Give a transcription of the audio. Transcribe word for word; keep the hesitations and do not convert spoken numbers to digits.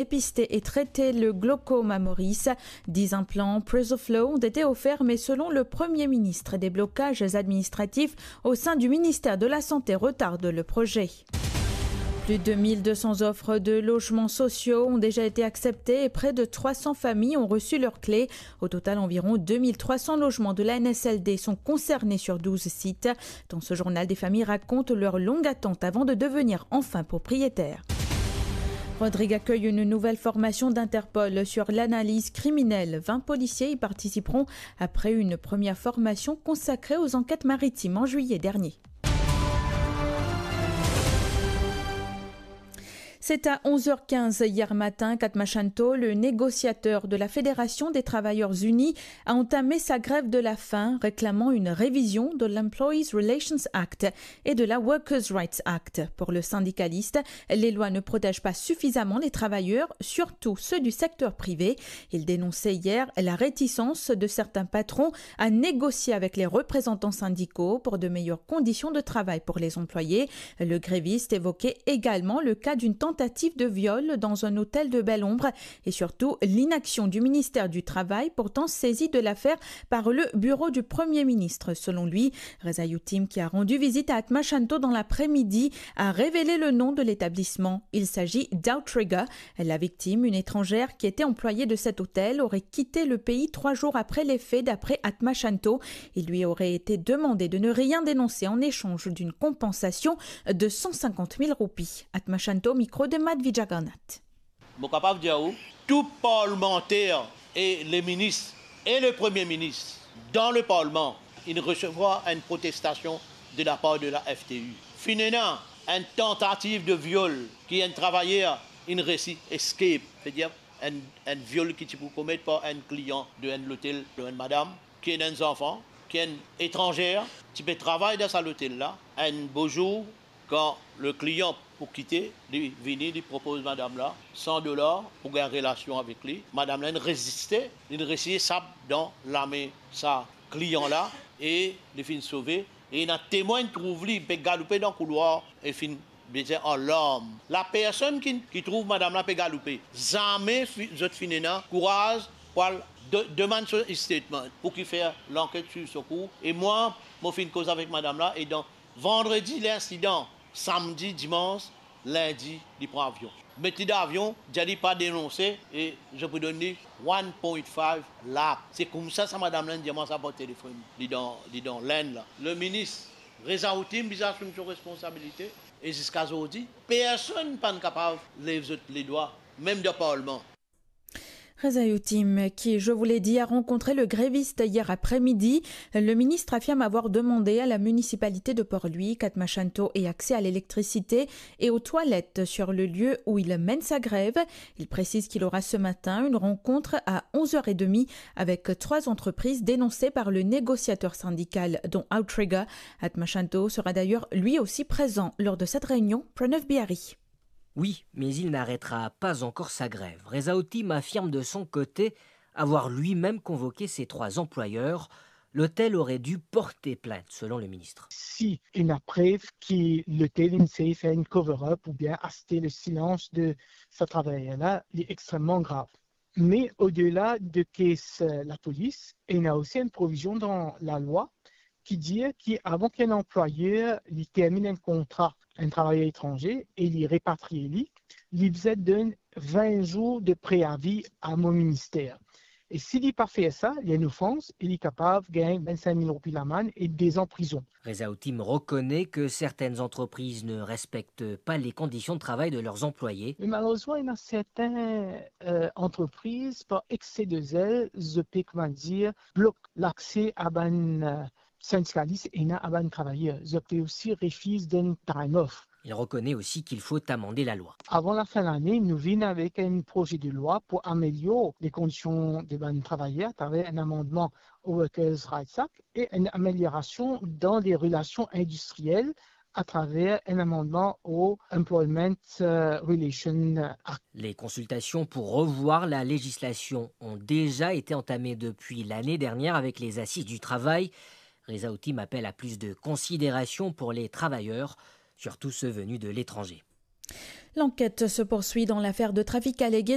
dépister et traiter le glaucome à Maurice. Dix implants Preserflow ont été offerts, mais selon le Premier ministre, des blocages administratifs au sein du ministère de la Santé retardent le projet. Plus de mille deux cents offres de logements sociaux ont déjà été acceptées et près de trois cents familles ont reçu leurs clés. Au total, environ deux mille trois cents logements de la N S L D sont concernés sur douze sites. Dans ce journal, des familles racontent leur longue attente avant de devenir enfin propriétaires. Rodrigues accueille une nouvelle formation d'Interpol sur l'analyse criminelle. Vingt policiers y participeront après une première formation consacrée aux enquêtes maritimes en juillet dernier. C'est à onze heures quinze hier matin qu'Atma Shanto, le négociateur de la Fédération des Travailleurs Unis, a entamé sa grève de la faim, réclamant une révision de l'Employees Relations Act et de la Workers' Rights Act. Pour le syndicaliste, les lois ne protègent pas suffisamment les travailleurs, surtout ceux du secteur privé. Il dénonçait hier la réticence de certains patrons à négocier avec les représentants syndicaux pour de meilleures conditions de travail pour les employés. Le gréviste évoquait également le cas d'une tentative de viol dans un hôtel de Belle-Ombre et surtout l'inaction du ministère du Travail, pourtant saisi de l'affaire par le bureau du Premier ministre. Selon lui, Reza Youtim, qui a rendu visite à Atma Shanto dans l'après-midi, a révélé le nom de l'établissement. Il s'agit d'Outrigger. La victime, une étrangère qui était employée de cet hôtel, aurait quitté le pays trois jours après les faits, d'après Atma Shanto. Il lui aurait été demandé de ne rien dénoncer en échange d'une compensation de cent cinquante mille roupies. Atma Shanto, micro de Madhvi Jagannath. Mo kapav dir ou, tou parlemanter e le minis e le premie minis dan le parlman, inn resevwar enn protestasion de lapar de la F T U. Finn ena enn tantativ de viol ki enn travayer inn resi escape, vedir enn, enn viol ki ti pou komet par enn klian de enn lotel de enn madam, ki ena enn zanfan, ki enn etranzer, ti pe travay dan sa lotel la. Enn bo zour, kan le klian pou kite, li vini, li propoz madam la san dolar pou gagn relasion avek li. Madam la inn reziste, li inn resi esap dan lame sa klian la e li finn sove. E ena temwin trouv li pe galoupe dan koulwar e finn bezin an larm. La personn ki, ki trouv madam la pe galoupe, zame fi-, zot finn ena kouraz pou al de-, demann so statement pou ki fer lanket swiv so kour. E mwa, mo finn koz avek madam la e dan vandredi linsidan, samdi, dimans, lindi, li pran avion. Met li dan avion, dir li pa denonse e zot pou donn li one point five lakh. Se koumsa sa madam la inn dir mwa sa par telefonn, li dan, li dan Lenn la. Le minis Reza Youtim bizin asime so responsabilite e ziska zordi, personn pa'nn kapav lev zot ledwa, mem dan parlman. Reza Youtim, qui, je vous l'ai dit, a rencontré le gréviste hier après-midi. Le ministre affirme avoir demandé à la municipalité de Port-Louis qu'Atma Shanto ait accès à l'électricité et aux toilettes sur le lieu où il mène sa grève. Il précise qu'il aura ce matin une rencontre à onze heures et demie avec trois entreprises dénoncées par le négociateur syndical, dont Outrigger. Atma Shanto sera d'ailleurs lui aussi présent lors de cette réunion. Pranav Bihari. Oui, mais il n'arrêtera pas encore sa grève. Reza Youtim affirme de son côté avoir lui-même convoqué ces trois employeurs. L'hôtel aurait dû porter plainte, selon le ministre. Si ena prev ki lotel inn sey fer enn cover-up oubien aste le silans de sa travayer la, li extrememan grav. Me odela de kes, eh, lapolis, ena osi enn provizion dan lalwa ki dir ki avan ki enn anplwayer li terminn enn kontra enn travayer etranze e li repatrie li, li bizin donn vin zour de preavi a mo minister. E si li pa fer sa, li enn ofans e li kapav gagn vinn-sink mil roupi lamann e de-z-an prizon. Reza Youtim reconnaît que certaines entreprises ne respectent pas les conditions de travail de leurs employés. Me malerezman, ena sertin, eh, antrepriz, par exse de zel, zot pe, kouma dir, blok lakse a bann, eh, sindikalis ena a bann travayer. Zot pe osi refiz donn time off. Il reconnaît aussi qu'il faut amender la loi. Avan lafin lane, nou vinn avek enn proze de lwa pou amelior le kondision de bann travayer atraver enn amandman au Workers' Rights Act e enn ameliorasion dan le relasion indistriel atraver enn amandman au Employment, eh, Relation Act. Les consultations pour revoir la législation ont déjà été entamées depuis l'année dernière avec les Assises du travail. Reza Youtim appelle à plus de considération pour les travailleurs, surtout ceux venus de l'étranger. L'enquête se poursuit dans l'affaire de trafic allégué